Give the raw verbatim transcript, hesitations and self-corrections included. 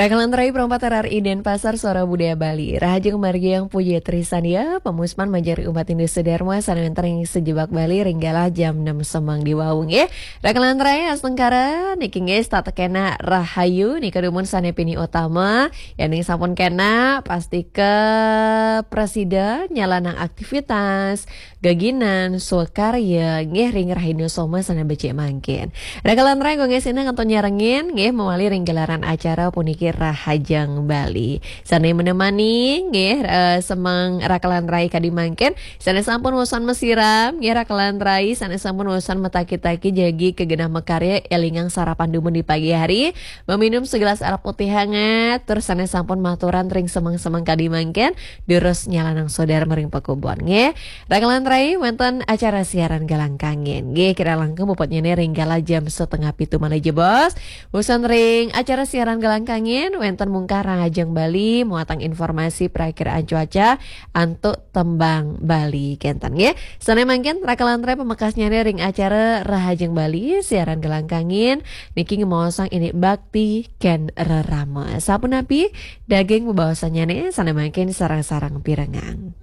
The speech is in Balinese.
Rakalan rai perempat R R I Denpasar, Suara Budaya Bali. Rahajeng margi Yang Puji Trisania, pamuspan manjari umat Hindu sedharma sané wénten ing sajebag Bali ring galah jam enam semeng di wau nggih. Rakalan rai astungkara niki nggih setata kénak rahayu nika dumun sané pini utama. Yéning sampun kénak pastika prasida nyalanang aktivitas, geginan, swakarya nggih ring rahina soma sané becik mangkin. Rakalan rai nggih sinah kantun nyarengin nggih mawali ring gelaran acara puniki Rahajeng Bali. Sané menemani nggih, eh, semeng rakalan rai kadi mangkin, sané sampun wusan masiram nggih rakalan rai, sané sampun wusan mataki-taki jagi ka genah makarya, élingang sarapan dumun di pagi hari, meminum segelas arak putih hangat, tur sané sampun maturan ring semeng-semeng kadi mangkin, durus nyalanang sodarma ring pakubon nggih. Rakalan rai wénten acara siaran Galang Kangin. Nggih, kirang langkung puputnyané ring galah jam setengah pitu malih jebos. Wusan ring acara siaran Galang Kangin wénten mungkah Rahajeng Bali muatang informasi prakiraan cuaca antuk tembang Bali kénten nggih. Sané mangkin rakalan rai pamekasnyané ring acara Rahajeng Bali siaran Galang Kangin niki ngemaosang indik bakti kén rerama. Sapunapi daging bebaosannyané sané mangkin sareng-sareng pirengang.